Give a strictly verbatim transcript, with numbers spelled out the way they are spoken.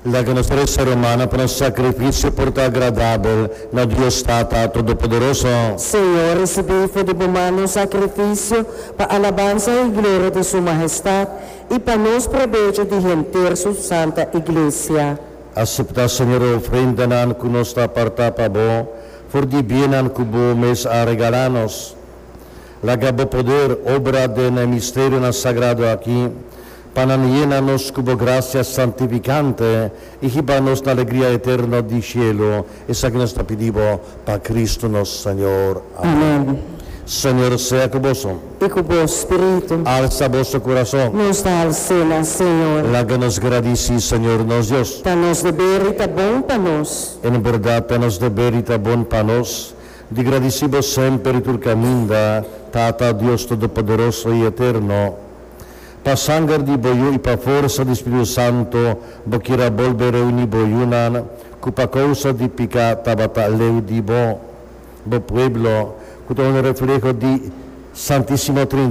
Laga nos resa, rumannan, pa nos sakrifisio por ta agradabel na Dios Tata Todopoderoso. Señor, risibí for di bo man nos sakrifisio pa alabansa i gloria di su mahestat i pa nos probecho di henter su santa Iglesia. Aseptá, Señor, e ofrendanan ku nos ta apartá pa bo, for di biennan ku bo mes a regalá nos. Laga bo poder obra den e misterionan sagrado aki, pa nan yena nos ku bo grasia santifikante i hiba nos na alegria eterno di shelu. Esaki nos ta pidi bo pa Kristu nos Señor. Amèn. Señor sea ku boso. I ku bo spiritu. Alsa boso kurason. Nos ta hals'é na Señor. Laga nos gradisí Señor nos Dios. Ta nos deber i ta bon pa nos. En berdat, ta nos deber i ta bon pa nos, di gradisí bo semper i tur kaminda, Tata Dios Todopoderoso i Eterno. Pa sanger di bo Yu i pa forsa di Spiritu Santu, bo kier a bolbe reuní bo yunan, ku pa kousa di piká tabata leu di bo, bo pueblo, ku ta un refleho di Santísima Trinidat.